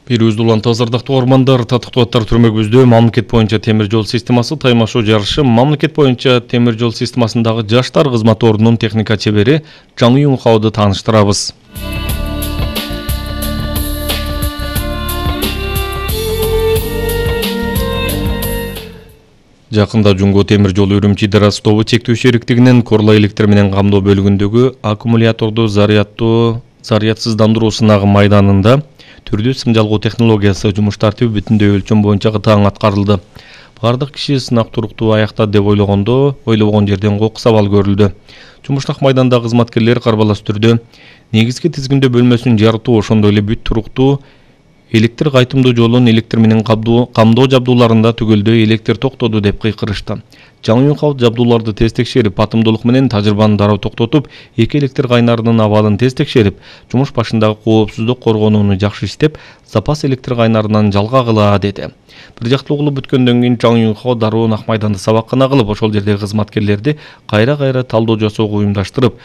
Бирүүз уланты азардактуу ормандар татыктуу аттар түрмөгүбүздө мамлекет боюнча темир жол системасы таймашуу жарышы мамлекет боюнча темир жол системасындагы жаштар кызмат ордунун техника чебери Жаңы Юнхауду тааныштырабыз. Жакында Жумго темир жолу Үрүмчи-Дара тобу чектөө шериктигинин Корла электр менен камдоо бөлүгүндөгү аккумуляторду зарядсыздандыруу сынагы майданында түрдүү сым жалгоо технологиясы жумуш тартиби бүтүндөй өлчөм боюнча таң аткарылды. Бардык киши сынак туруктуу аяктады деп ойлобогон жерден кокус абал көрүлдү. Жумуштак майданда кызматкерлер карбалас түрдө негизги тизгиндөө бөлмөсүн жарытуу, ошондой эле бүт туруктуу электр кайтымдуу жолун электр менен камдоо жабдууларында түгөлдөй электр токтоду деп кыйкырышты. Жаңы Юнхау жабдууларды тез текшерип, атымдуулук менен тажрыйбаны дароо токтотуп, эки электр кайнарынын абалын тез текшерип, жумуш башындагы коопсуздук коргонууну жакшы иштеп, запас электр кайнарынан жалга кыла деди. Бир жактуу кылып бүткөндөн кийин Жаңы Юнхау дароо нак майданда сабаккана кылып, ошол жердеги кызматкерлерди кайра талдоо жасоого уюмдаштырып,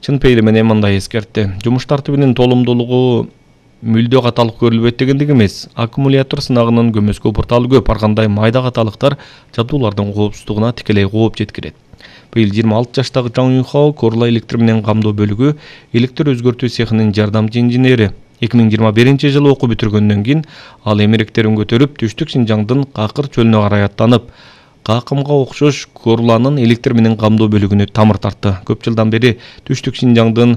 чын пейили менен мындай эскертти. Жумуш тартибинин толумдуулугу мүлдө каталык көрүлбөйт дегендик эмес. Аккумулятор сынагынын көмөскө порталы көп, ар кандай майда каталыктар жабдуулардын коопсуздугуна тикелей кооп жеткирет. Быйыл 26 жаштагы Жаңы Юнхау Корла электр менен камдоо бөлүгү электр өзгөртүү цехинин жардамчы инженери. 2021 жылы окуу бүтүргөндөн кийин ал эмеректерин көтөрүп, Түштүк Шинжаңдын Какыр чөлүнө карай аттанып, Какымга окшош Корланын электр менен камдоо бөлүгүнө тамыр тартты. Көп жылдан бери Түштүк Шинжаңдын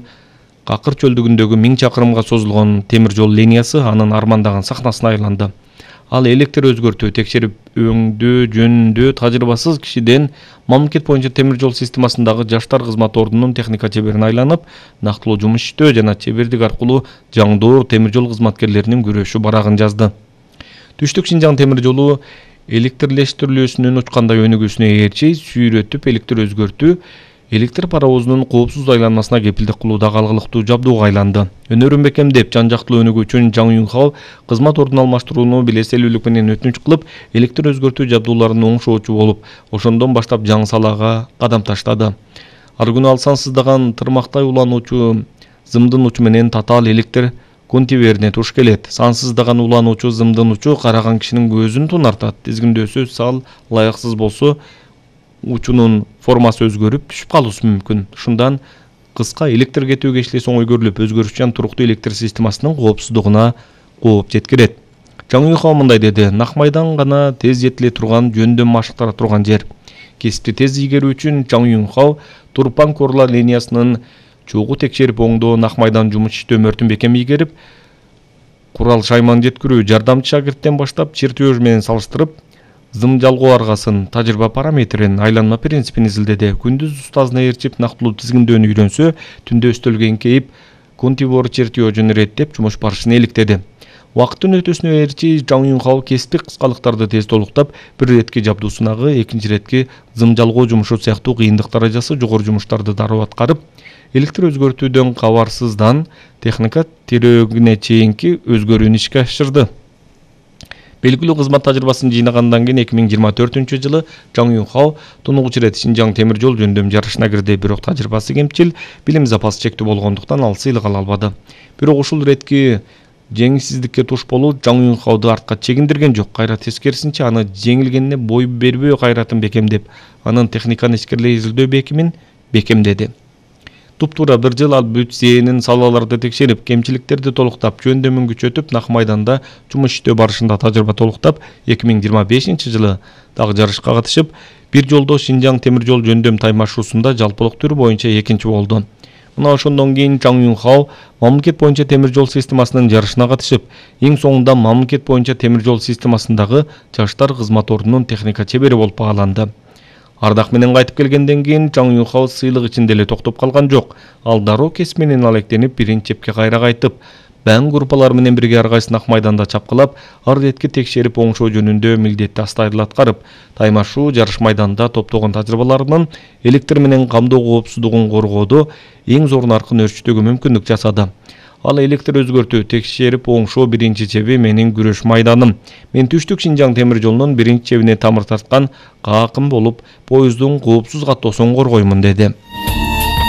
Какыр чөлдүгүндөгү 1000 чакырымга созулгон темир жол линиясы анын армандаган сахнасына айланды. Ал электр өзгөртүү, текшерип өңдөө жөнүндө тажрыйбасыз кишиден мамлекет боюнча темир жол системасындагы жаштар кызмат ордунун техника чеберине айланып, нактылуу жумуш иштөө жана чебердик аркылуу жаңдоо темир жол кызматкерлеринин күрөшү барагын жазды. Түштүк Шинжаң темир жолу электрлештирилүүсүнүн учкандай өнүгүүсүнө ээрчи сүйрөтүп электр өзгөртүү электр паровозунун коопсуз айланмасына кепилдик кылуудагы алгылыктуу жабдууга айланды. Өнөрүн бекемдеп, жан жактылуу өнүгүү үчүн Жаңы Юнхау кызмат ордун алмаштырууну белеселүүлүк менен өтүнүч кылып, электр өзгөртүү жабдууларын оңшоочу болуп, ошондон баштап жаңы салага кадам таштады. Ар күнү ал сансыздаган тырмактай улануучу зымдын учу менен татаал электр контейнерине туш келет. Сансыздаган улануучу зымдын учу караган кишинин көзүн тунартат. Тизгиндөөсү сал ылайыксыз болсо, учунун формасы өзгөрүп түшүп калуусу мүмкүн. Ушундан кыска электр кетүү кечилеси оңой көрүлүп, өзгөрүшчан туруктуу электр системасынын коопсуздугуна кооп жеткирет. Жаңы Юнхау мындай деди: нак майдан гана тез жетиле турган, жөндөм машыктара турган жер. Кесипти тез ийгерүү үчүн Жаңы Юнхау Турпан Корла линиясынын чогуу текшерип оңдоо, нак майдан жумуш иштөө мөртүн бекем ийгерип, курал шайман жеткирүү, жардамчы шагирттен баштап чертеж менен салыштырып, зым жалгоо аргасын, тажрыйба параметрин, айланма принципин изилдеди. Күндүз устазына ээрчип нактылуу тизгиндөөнү үйрөнсө, түндө өстөлгө эңкейип, контейнер чертежин иреттеп жумуш барышын иликтеди. Убакыттын өтүүсүнө ээрчи Жаңы Юнхау кесиптик кыскалыктарды тез толуктап, бир иретки жабдуу сынагы, экинчи иретки зым жалгоо жумушу сыяктуу кыйындык даражасы жогору жумуштарды дароо аткарып, электр өзгөртүүдөн кабарсыздан техника тирөөгүнө чейинки өзгөрүүнү ишке ашырды. Белгилүү кызмат тажрыйбасын жыйнагандан кийин 2024 жылы Жаңы Юнхау тунугуч ирет Шинжаң темир жол жөндөм жарышына кирди. Бирок тажрыйбасы кемчил, билим запасы чектүү болгондуктан ал сыйлык ала албады. Бирок ушул иретки жеңилсиздикке туш болуу Жаңы Юнхауду артка чегиндирген жок. Кайра тескерисинче аны жеңилгенине бой бербөө кайратын бекемдеп, анын техниканы ичкерилей изилдөө бекимин бекемдеди. Туптуура бир жыл ал бүт зээнин салаларды текшерип, кемчиликтерди толуктап, жөндөмүн күчөтүп, нак майданда жумуш иштөө барышында тажрыйба толуктап, 2025 жылы дагы жарышка катышып, бир жолдо Шинжаң темир жол жөндөм таймашуусунда жалпылык түрү боюнча экинчи болду. Мына ошондон кийин Жаңы Юнхау мамлекет боюнча темир жол системасынын жарышына катышып, эң соңунда мамлекет боюнча темир жол системасындагы жаштар кызмат ордунун техника чебери болуп бааланды. Ардак менен кайтып келгенден кийин Жаңы Юнхау сыйлык ичинде эле токтоп калган жок. Ал дароо кесип менен алектенип, биринчи чепке кайра кайтып, баң группалары менен бирге ар кайсын ак майданда чапкылап, ар иретки текшерип оңшоо жөнүндө милдетти астайыл аткарып, таймашуу жарыш майданда топтогон тажрыйбаларынын электр менен камдоо коопсуздугун коргоодо эң зор наркын өрчүтүүгө мүмкүндүк жасады. Ал электр өзгөртүү, текшерип оңшоо биринчи чеби менин күрөш майданым. Мен Түштүк Шинжаң темир жолунун биринчи чебине тамыр тарткан Какым болуп, поездун коопсуз каттоосун коргоймун деди.